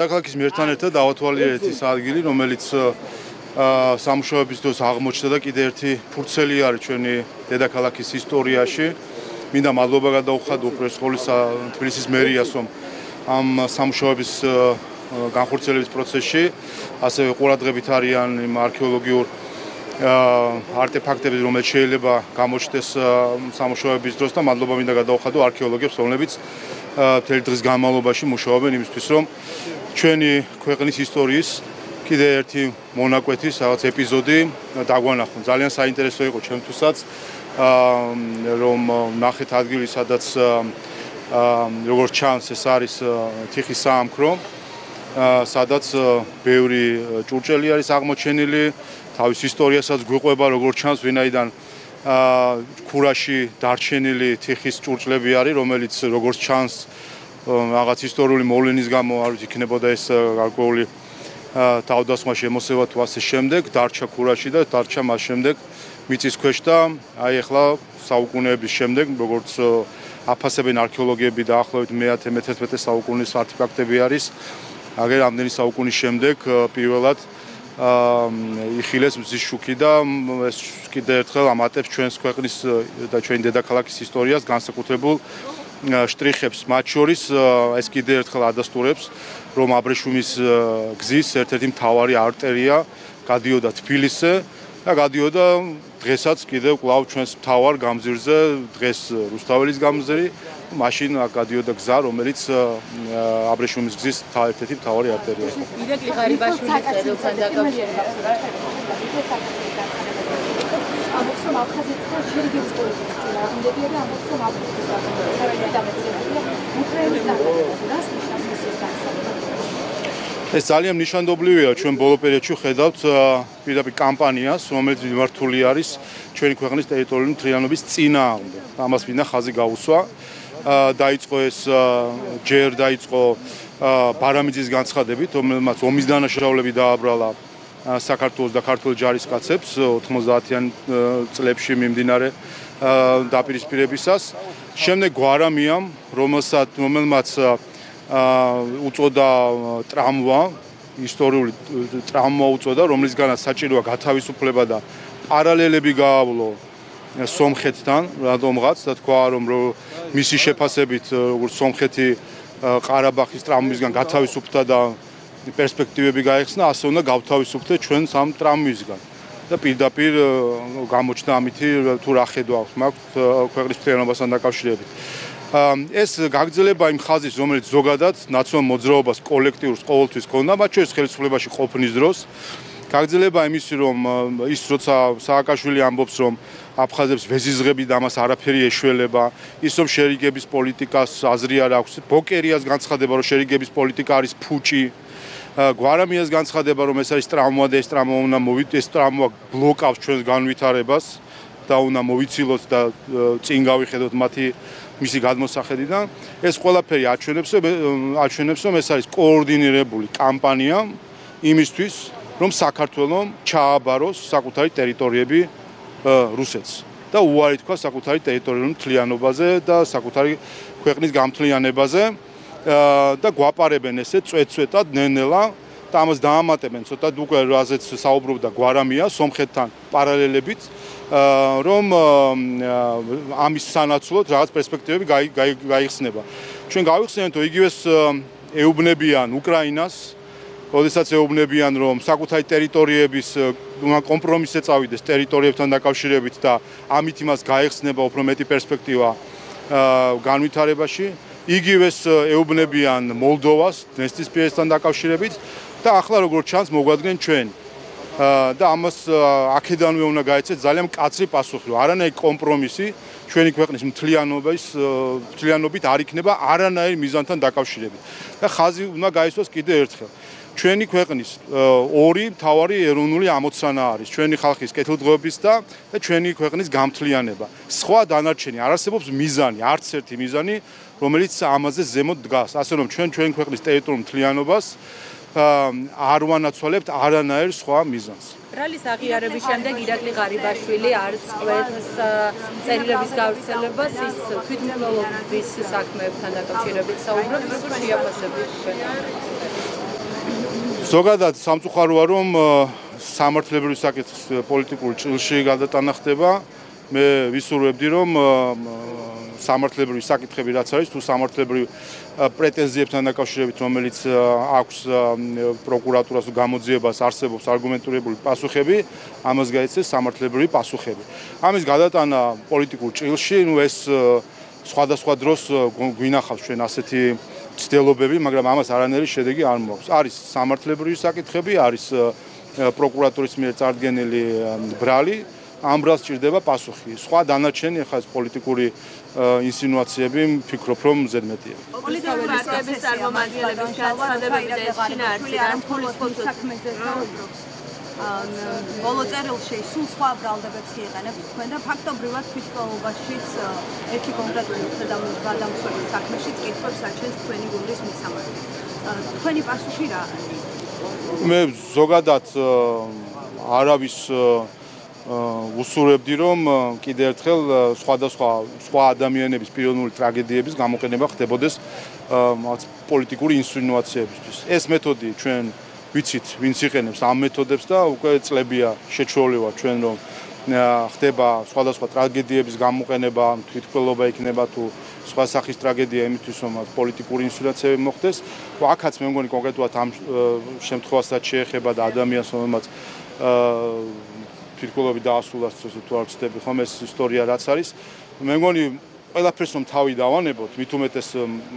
Დედაქალაქის მიერთან ერთად დავათვალიერეთ ის ადგილი, რომელიც სამუშაოების დროს აღმოჩნდა და კიდევ ერთი ფურცელი არის ჩვენი დედაქალაქის ისტორიაში. მინდა მადლობა გადაუხადო უპირველეს ყოვლისა თბილისის მერიას, რომ ამ სამუშაოების განხორციელების პროცესში ასევე ყურადღებით არიან იმ არქეოლოგიურ არტეფაქტები, რომელიც შეიძლება გამოჩნდეს სამუშაოების დროს და მადლობა მინდა გადაუხადო არქეოლოგებს, რომლებიც მთელი დღის განმავლობაში მუშაობენ იმისთვის, რომ ჩვენი ქვეყნის ისტორიის კიდევ ერთი მონაკვეთის რაღაც ეპიზოდი დაგვანახონ. ძალიან საინტერესო იყო ჩემთვისაც, რომ ნახეთ ადგილი, სადაც როგორც ჩანს, ეს არის თიხის საამქრო, სადაც ბევრი ჭურჭელი არის აღმოჩენილი, თავის ისტორიასაც გვიყვება, როგორც ჩანს, ვინაიდან ქურაში დარჩენილი თიხის ჭურჭლები არის, რომელიც როგორც ჩანს, რაღაც ისტორიული მოვლენის გამო არ ვიცი იქნებოდა ეს გარკვეული თავდასხმა შემოსევა თუ ასე შემდეგ, დარჩა ქურაში და დარჩა მას შემდეგ მიწის ქვეშ და აი ახლა საუკუნეების შემდეგ, როგორც აფასებენ არქეოლოგიები დაახლოებით მე-11 საუკუნის არტეფაქტები არის, აგერ რამდენი საუკუნის შემდეგ პირველად იხილეს მზის შუქი და ეს კიდევ ერთხელ ამატებს ჩვენს ქვეყნის და ჩვენი დედაქალაქის ისტორიას განსაკუთრებულ შტრიხებს, მათ შორის ეს კიდევ ერთხელ ადასტურებს, რომ აბრეშუმის გზის ერთ-ერთი მთავარი არტერია გადიოდა თბილისზე და გადიოდა დღესაც კიდევ კვლავ ჩვენს მთავარ გამზირზე, დღეს რუსთაველის გამზირი, მაშინ გადიოდა გზა, რომელიც აბრეშუმის გზის ერთ-ერთი მთავარი არტერია იყო. ირაკლი ღარიბაშვილის წერილთან დაკავშირებით ამბობს, რომ აფხაზეთთან შერიგების პოლიტიკის წინააღმდეგია და ამბობს, რომ აფხაზეთის საერთოდ დამოკიდებულია უკრაინის წარმატებაზე. რას ნიშნავს მისის განსაკუთრება? ეს ძალიან ნიშანდობლივია, ჩვენ ბოლო პერიოდში ხედავთ პირდაპირ კამპანიას, რომელიც მიმართული არის ჩვენი ქვეყნის ტერიტორიული მთლიანობის წინააღმდეგ. ამას მინდა ხაზი გაუსვა. დაიწყო ეს ჯერ დაიწყო ბარამიძის განცხადებით, რომელმაც ომის დანაშაულები დააბრალა საქართველოს და ქართულ ჯარისკაცებს 90-იან წლებში მიმდინარე დაპირისპირებისას. შემდეგ გვარამიამ, რომელმაც უწოდა ტრამვა, ისტორიული ტრამვა უწოდა, რომლისგანაც საჭიროა გათავისუფლება და პარალელები გაავლო სომხეთთან, რადგანაც და თქვა, რომ მისი შეფასებით, როგორც სომხეთი ყარაბაღის ტრამვისგან გათავისუფლდა და პერსპექტივები გაიხსნა, ასე უნდა გავთავისუფლდეთ ჩვენ სამ ტრამვისგან. და პირდაპირ გამოჩნდა ამითი თუ რა ხედვა აქვს მაქვს ქვეყნის მთლიანობასთან დაკავშირებით. ეს გაგრძელება იმ ხაზის, რომელიც ზოგადად ნაციონალურ მოძრაობას კოლექტიურს ყოველთვის ჰქონდა, მათ შორის ხელისუფლებაში ყოფნის დროს. გაგრძელება იმისი, რომ ის როცა სააკაშვილი ამბობს, რომ აფხაზებს ვეზიზღები და ამას არაფერი ეშველება, ის რომ შერიგების პოლიტიკას აზრი არ აქვს, ბოკერიას განცხადება, რომ შერიგების პოლიტიკა არის ფუჭი, გვარამიას განცხადება, რომ ეს არის ტრამვა და ეს ტრამვა უნდა მოვიდეთ, ეს ტრამვა ბლოკავს ჩვენს განვითარებას და უნდა მოვიცილოთ და წინ გავიხედოთ მისი გადმოსახედიდან. ეს ყველაფერი აჩვენებს, რომ ეს არის კოორდინირებული კამპანია იმისთვის, რომ საქართველოს ჩააბაროს საკუთარი ტერიტორიები რუსეთს და უარი თქვა საკუთარი ტერიტორიული მთლიანობაზე და საკუთარი ქვეყნის გამთლიანებაზე და გვაპარებენ ესე წვეტ-წვეტად ნელ-ნელა და ამას დაამატებენ ცოტა უკვე რაზეც საუბრობდა გვარამია სომხეთთან პარალელებით, რომ ამის სანაცვლოდ რაღაც პერსპექტივები გაიხსნება. ჩვენ გავიხსენეთ, რომ იგივეს ეუბნებიან უკრაინას, როდესაც ეუბნებიან, რომ საკუთარი ტერიტორიების კომპრომისზე წავიდეს ტერიტორიებთან დაკავშირებით და ამით იმას გაიხსნება უფრო მეტი პერსპექტივა განვითარებაში. იგივეს ეუბნებიან მოლდოვას დნესტრისპირეთთან დაკავშირებით და ახლა როგორც ჩანს მოგვადგენენ ჩვენ. და ამას აქედანვე უნდა გაეცეთ ძალიან მკაცრი პასუხი, რომ არანაირი კომპრომისი ჩვენი ქვეყნის მთლიანობით არ იქნება არანაირ მიზანთან დაკავშირებით. და ხაზი უნდა გაისვას კიდევ ერთხელ. ჩვენი ქვეყნის ორი მთავარი ეროვნული ამოცანა არის ჩვენი ხალხის კეთილდღეობის და ჩვენი ქვეყნის გამთლიანება. სხვა დანარჩენი არ არსებობს მიზანი, არც ერთი მიზანი, რომელიც ამაზე ზემოთ დგას. ასე რომ ჩვენი ქვეყნის ტერიტორიულ მთლიანობას არ ვანაცვალებთ არანაირ სხვა მიზანს. ბრალის აღიარების შემდეგ ირაკლი ღარიბაშვილი არ წყვეტს წერილების გავრცელებას, ის თვითმკვლელობის საქმეებთან დაკავშირებით საუბრობს, როგორ შეაფასებთ? ზოგადად სამწუხაროა რომ სამართლებრივი საკითხის პოლიტიკური ჭრილში გადატანა ხდება. მე ვისურვებდი რომ სამართლებრივი საკითხები რაც არის თუ სამართლებრივი პრეტენზიებთან დაკავშირებით რომელიც აქვს პროკურატურას თუ გამოძიებას არსებობს არგუმენტირებული პასუხები ამას გაიცეს სამართლებრივი პასუხები. ამის გადატანა პოლიტიკურ ჭრილში ეს სხვადასხვა დროს გვინახავს ჩვენ ასეთი ცდილობები, მაგრამ ამას არანაირი შედეგი არ მოაქვს. არის სამართლებრივი საკითხები, არის პროკურატურის მიერ წარდგენილი ბრალი, ამ ბრალს სჭირდება პასუხი. სხვა დანარჩენი ახლა ეს პოლიტიკური ინსინუაციები ვფიქრობ რომ ზედმეტია. პოლიტიკური პარტიების წარმომადგენლების განცხადებები და შინაარსი განსხვავებული საქმეზე საუბრობს. ბოლო წერილში სულ სხვა ბრალდებებს იყენებს თქვენ და ფაქტობრივად თვითმკვლელობაშიც ერთი კონკრეტული გადამცველი საქმეშიც კითხვებს აჩენს თქვენი გუნდის მისამართი. თქვენი პასუხი რა არის? მე ზოგადად არავის უსურვებდი რომ კიდევ ერთხელ სხვა ადამიანების პიროვნული ტრაგედიების გამოყენება ხდებოდეს პოლიტიკური ინსინუაციებისთვის. ეს მეთოდი ჩვენ ვიცით, ვინც იყენებს ამ მეთოდებს და უკვე წლებია შეჩვეული ვარ ჩვენ რომ ხდება სხვადასხვა ტრაგედიების გამოყენება, თვითმკვლელობა იქნება თუ სხვა სახის ტრაგედია იმისთვის რომ პოლიტიკური ინსინუაციები მოხდეს. აქაც მე მგონი კონკრეტულად ამ შემთხვევასაც შეეხება და ადამიანს რომელმაც თვითმკვლელობი დაასრულა თუ არ ვცდები ხომ ეს ისტორია რაც არის. მე მგონი ყველაფერს რომ თავი დავანებოთ, მით უმეტეს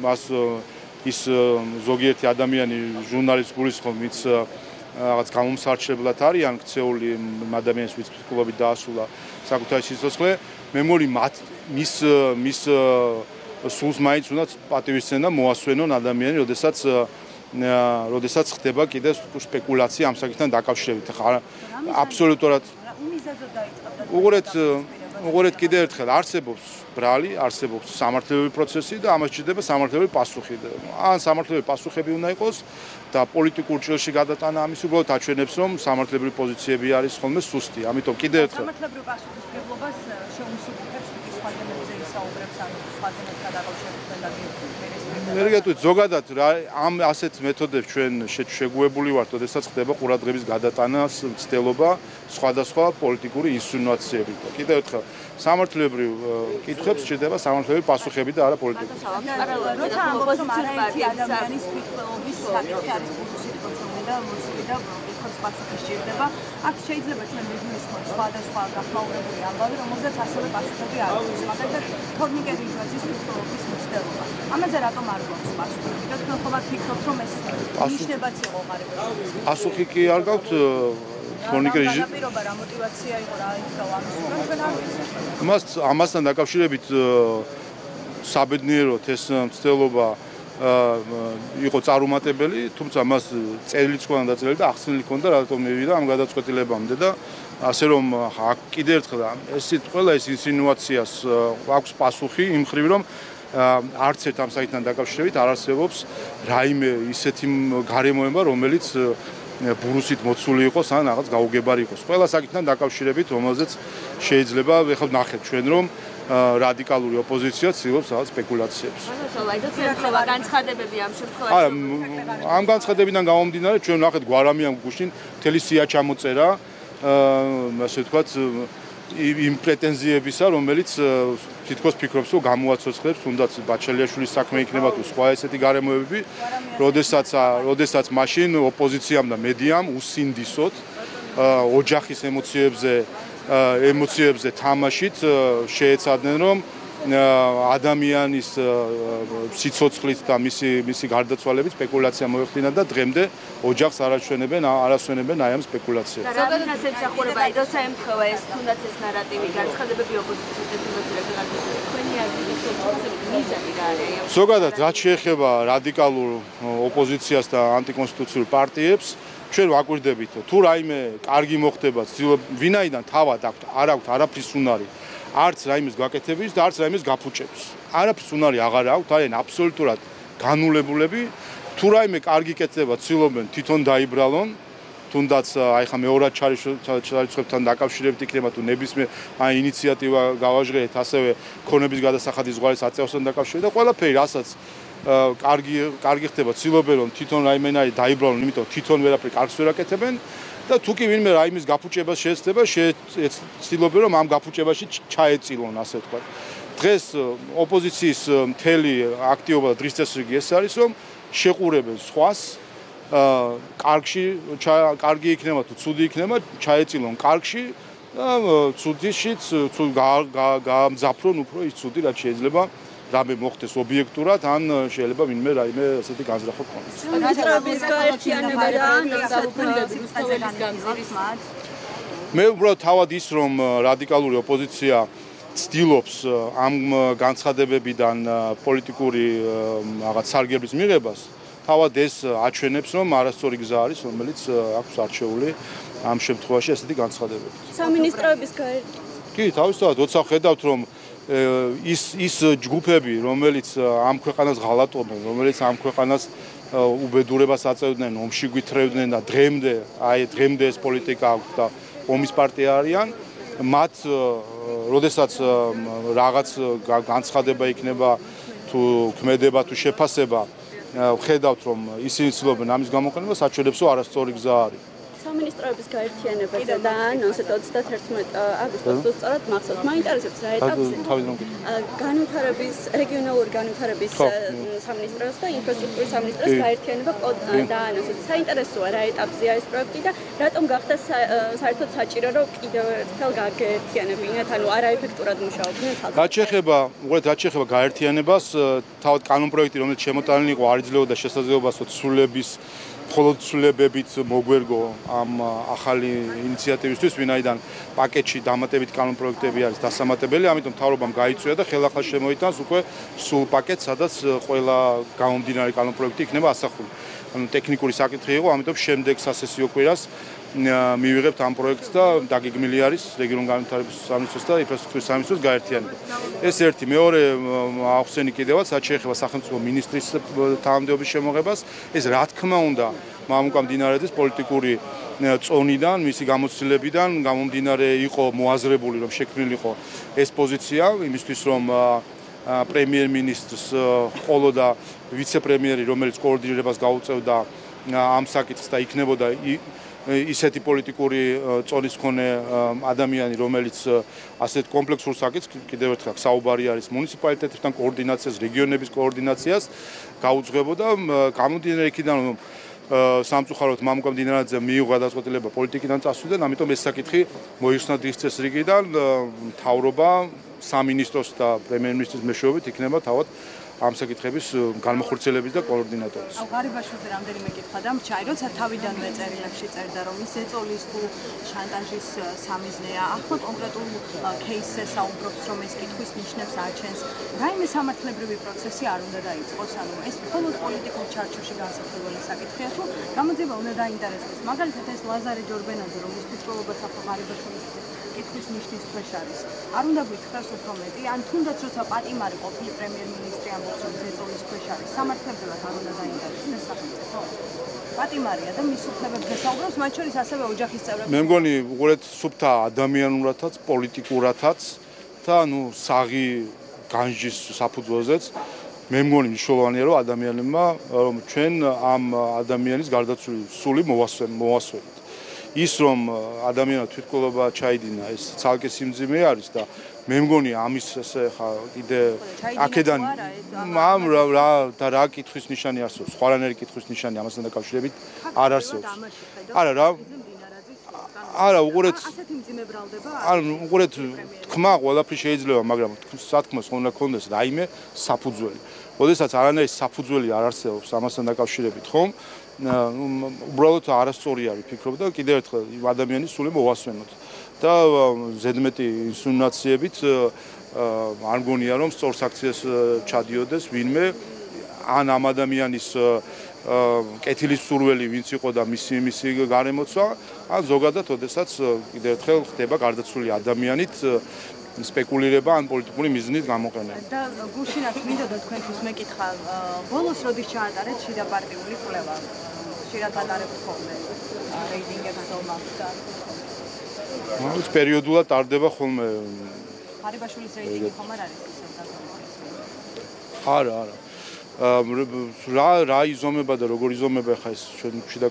მას ის ზოგიერთი ადამიანი ჟურნალისტ გულისხმობ, ვინც რაღაც გამომსარჩებლად არიან ქცეული ადამიანის ვინც თვითმკვლელობით დაასრულა საკუთარი სიცოცხლე. მე მგონი მის სულს მაინც უნდა პატივისცემა მოასვენონ ადამიანი, როდესაც ხდება კიდევ სპეკულაცია ამ საკითხთან დაკავშირებით. აბსოლუტურად უყურეთ კიდევ ერთხელ არსებობს ბრალი, არსებობს სამართლებრივი პროცესი და ამას სჭირდება სამართლებრივი პასუხი. ან სამართლებრივი პასუხები უნდა იყოს და პოლიტიკურ ჭრილში გადატანა ამის უბრალოდ აჩვენებს რომ სამართლებრივი პოზიციები არის ხოლმე სუსტი. ამიტომ კიდევ ერთხელ სამართლებრივი პასუხისმგებლობას შეუმსუბუქებს თუ სხვა თემებზე ისაუბრებს ან სხვა თემებთან დაკავშირებით და მერგეთუით ზოგადად ამ ასეთ მეთოდებს ჩვენ შეგვებული ვართ, როდესაც ხდება ყურადღების გადატანას მცდელობა სხვადასხვა პოლიტიკური ინსინუაციებით. კიდევ ერთხელ სამართლებრივ კითხვებს სჭირდება სამართლებრივი პასუხები და არა პოლიტიკური. როცა ამბობს რომ არაერთი ადამიანის თვითმკვლელობის საკითხი არის პოლიტიკური პროცესი და მოსული და კითხვებს პასუხი სჭირდება, აქ შეიძლება ჩვენ ვიგულისხმოთ სხვადასხვა გახმაურებული ამბავი, რომელზეც ასევე პასუხები არ აქვს. მაგალითად, თორნიკე რიჟვაძის თვითმკვლელობის მცდელობა. ამაზე რატომ არ გვაქვს პასუხი? და თქვენ ხომ ფიქრობთ რომ ეს ნიშნებაც იყო ღარიბი? პასუხი კი არ გაქვთ თორნიკე რიჟვაძის პირობა რა мотиваცია იყო რა იქა ამის ჩვენ არ ვიცით. ამასთან დაკავშირებით საბედნიეროდ ეს მცდელობა იყო წარუმატებელი, თუმცა მას წერილიც ჰქონდა დაწერილი და ახსნილი ჰქონდა, რატომ მივიდა ამ გადაწყვეტილებამდე და ასე რომ კიდევ ერთხელ ყველა ეს ინსინუაციას აქვს პასუხი იმ ხრივ რომ არც ერთ ამ საკითხთან დაკავშირებით არ არსებობს რაიმე ისეთი გარემოება, რომელიც ბურუსით მოცული იყოს ან რაღაც გაუგებარი იყოს. ყველა საკითხთან დაკავშირებით, რომელზეც შეიძლება ეხლა ნახეთ ჩვენ რომ რადიკალური ოპოზიცია ცდილობს რაღაც სპეკულაციებს. განცხადებები ამ შემთხვევაში. ამ განცხადებიდან გამომდინარე ჩვენ ნახეთ გვარამიან გუშინ მთელი სია ჩამოწერა ასე ვთქვათ იმ პრეტენზიებისა, რომელიც თითქოს ფიქრობს, რომ გამოაცოცხლებს თუნდაც ბაჩელიაშვილის საქმე იქნება თუ სხვა ესეთი გარემოებები, როდესაც მაშინ ოპოზიციამ და მედიამ უსინდისოდ ოჯახის ემოციებზე თამაშით შეეცადნენ, რომ ადამიანის სიცოცხლით და მისი გარდაცვალებით სპეკულაცია მოეხდინა და დღემდე ოჯახს არასვენებენ აი ამ სპეკულაციებს. ზოგადად ასე მსახურება, როცა ემთხვევა ეს თუნდაც ეს ნარატივი განცხადებები ოპოზიციის დეფინირებული განცხადებები, თქვენი აზრით მიზანი რა არის? ზოგადად რაც შეეხება რადიკალურ ოპოზიციას და ანტიკონსტიტუციურ პარტიებს, ჩვენ ვაკვირდებით, თუ რაიმე კარგი მოხდება, ვინაიდან თავად არ აქვთ არაფრის უნარი არც რაიმეს გაკეთების და არც რაიმეს გაფუჭების. არაფრის უნარი აღარ აქვთ, არიან აბსოლუტურად განულებულები. თუ რაიმე კარგი კეთდება, ცდილობენ თვითონ დაიბრალონ, თუნდაც აი ხა მეორად ჩარიცხვებთან დაკავშირებით იქნება თუ ნებისმიერ ინიციატივა გავაჟღერეთ, ასევე ქონების გადასახადის ზღვარის აწევასთან დაკავშირებით და ყველაფერი, რასაც კარგი ხდება, ცდილობენ რომ თვითონ რაიმენარი დაიბრალონ, იმიტომ თვითონ ვერაფერი კარგს ვერ აკეთებენ და თუ კი ვინმე რაიმის გაფუჭებას შეეცდება, ცდილობენ რომ ამ გაფუჭებაში ჩაეწილონ, ასე ვთქვათ. დღეს ოპოზიციის მთელი აქტივობა და დღის წესრიგი ეს არის, რომ შეყურებენ სხვას, კარგი იქნება თუ ცუდი იქნება, ჩაეწილონ კარგში და ცუდიშიც გაამძაფრონ უფრო ის ცუდი, რაც შეიძლება რამე მოხდეს ობიექტურად, ან შეიძლება ვინმე რაიმე ასეთი განზრახვა ქონდეს. მინისტრების გაერთიანება და ნაციონალიზმის განზრახვის მათ. მე უბრალოდ თავად ის, რომ რადიკალური ოპოზიცია ცდილობს ამ განცხადებებიდან პოლიტიკური რაღაც სარგებლის მიღებას, თავად ეს აჩვენებს, რომ არასწორი გზა არის, რომელიც აქვს არჩეული ამ შემთხვევაში ასეთი განცხადებები. სამინისტროების კი, თავისთავად, როცა ხედავთ, რომ ის ჯგუფები, რომელიც ამ ქვეყანას ღალატობენ, რომელიც ამ ქვეყანას უბედურებას აწევდნენ, ომში გვითრევდნენ და დღემდე ეს პოლიტიკა აქვს და ომის პარტია არიან, მათ როდესაც რაღაც განცხადება იქნება თუ ქმედება თუ შეფასება, ხედავთ, რომ ისინი ცდილობენ ამის გამოყენებას, აჩვენებს, რომ არასწორი გზა არის. სამინისტროების გაერთიანებაზე და 31 აგვისტოს სწორად მახსოვს. მაინტერესებს რა ეტაპზე განვითარების, რეგიონალური განვითარების სამინისტროს და ინფრასტრუქტურის სამინისტროს გაერთიანება დაანონსეთ. საინტერესოა რა ეტაპზეა ეს პროექტი და რატომ გახდა საერთოდ საჭირო, რომ კიდევ ერთხელ გაერთიანებინათ, ანუ არაეფექტურად მუშაობდნენ თალს. რაც შეეხება გაერთიანებას, თავად კანონპროექტი, რომელიც შემოტანილი იყო, არ იძლეოდა შესაძლებლობას მხოლოდ ცვლილებებით მოგვერგო ამ ახალი ინიციატივისთვის, ვინაიდან პაკეტში დამატებით კანონპროექტები არის დასამატებელი, ამიტომ მთავრობამ გაიწვია და ხელახლა შემოიტანს უკვე სულ პაკეტს, სადაც ყველა გამომდინარე კანონპროექტი იქნება ასახული. ანუ ტექნიკური საკითხი იყო, ამიტომ შემდეგ სასესიო კვირას მივიღებთ ამ პროექტს და დაგეგმილი არის რეგიონულ განვითარების სამინისტროს და ინფრასტრუქტურის სამინისტროს გაერთიანება. ეს ერთი, მეორე ახსენი კიდევაც, რაც შეეხება სახელმწიფო მინისტრის თანამდებობის შემოღებას, ეს რა თქმა უნდა მამუკამდინარეძის პოლიტიკური წონიდან, მისი გამოცდილებიდან გამომდინარე იყო მოაზრებული, რომ შექმნილიყო ეს პოზიცია, იმისთვის რომ პრემიერ-მინისტრს ყოლოდა ვიცე-პრემიერი, რომელიც კოორდინირებას გაუწევდა ამ საკითხს და იქნებოდა ისეთი პოლიტიკური წონის მქონე ადამიანი, რომელიც ასეთ კომპლექსურ საკითხს, კიდევ ერთხელ საუბარი არის მუნიციპალიტეტებთან კოორდინაციას, რეგიონების კოორდინაციას გაუძღვებოდა. გამომდინარე იქიდან, რომ სამწუხაროდ მამუკამდინარეძე მიიღო გადაწყვეტილება პოლიტიკიდან წასვლიდან, ამიტომ ეს საკითხი მოიხსნა დღის წესრიგიდან, მთავრობა სამინისტროს და პრემიერ-მინისტრის მეშვეობით იქნება თავად ამ საკითხების განმახორციელების და კოორდინატორის. ღარიბაშვილზე რამდენიმე კითხვა დამრჩა, როცა თავიდანვე წერილებში წერდა, რომ ის ეწოლის თუ შანტაჟის სამიზნეა, ახლა კონკრეტულ кейსზე საუბრობს, რომ ეს კითხვის ნიშნებს აჩენს. რაიმე სამართლებრივი პროცესი არ უნდა დაიწყოს, ანუ ეს მხოლოდ პოლიტიკურ ჩარჩოში განსახილველი საკითხია, თუ გამოძიება უნდა დაინტერესდეს. მაგალითად ეს ლაზარე ჯორბენაძე, რომლის თვითმკვლელობა ღარიბაშვილის კითხვის ნიშნის ქვეშ არის. არ უნდა გითხრას უფრო მეტი, ან თუნდაც როცა პატიმარი ყოფილი პრემიერ-მინისტრი ამბობს, რომ ზეწოლის ქვეშ არის, სამართლებრივად არ უნდა დაინტერესდეს სახელმწიფო. პატიმარია და მის უფლებებზე საუბრობს, მათ შორის ასევე ოჯახის წევრები. მე მგონი უყურეთ სუფთა ადამიანურათაც, პოლიტიკურათაც და საღი განჯის საფუძველზეც მე მგონი მნიშვნელოვანია, რომ ადამიანებმა რომ ჩვენ ამ ადამიანის გარდაცვლილი სული მოვასვენოთ. ის რომ ადამიანმა თვითმკვლელობა ჩაიდინა, ეს ცალკე სიმძიმე არის და მე მგონი ამის ესე ხა კიდე აქედან რა კითხვის ნიშანი არსებობს, სხვანაირი კითხვის ნიშანი ამასთან დაკავშირებით არ არსებობს. არა, უყურეთ ასეთი მძიმე ბრალდება? უყურეთ, თქმა ყველაფერი შეიძლება, მაგრამ სათქმოს უნდა გქონდეს რაიმე საფუძველი. როდესაც არანაირი საფუძველი არ არსებობს ამასთან დაკავშირებით, ხომ? უბრალოდ არასწორი არის ფიქრობ და კიდევ ერთხელ ადამიანის სული მოვასვენოთ და ზედმეტი ინსინუაციებით არ მგონია რომ სწორ საქციას ჩადიოდეს ვინმე ან ამ ადამიანის კეთილის სურველი ვინც იყო და მისი გარემოცვა ან ზოგადად ოდესაც კიდევ ერთხელ ხდება გარდაცვლილი ადამიანით სპეკულირება ან პოლიტიკური მიზნით გამოყენება. და გუშინაც მინდოდა თქვენთვის მეკითხა, ბოლოს როდის ჩაატარეთ შიდა პარტიული კვლევა? ხშირად ატარებთ ხოლმე რეიტინგებს ომავსთან. ეს პერიოდულად ტარდება ხოლმე. ღარიბაშვილის რეიტინგი ხომ არ არის ისე? არა. რა იზომება და როგორ იზომება ხა ეს ჩვენ შიდა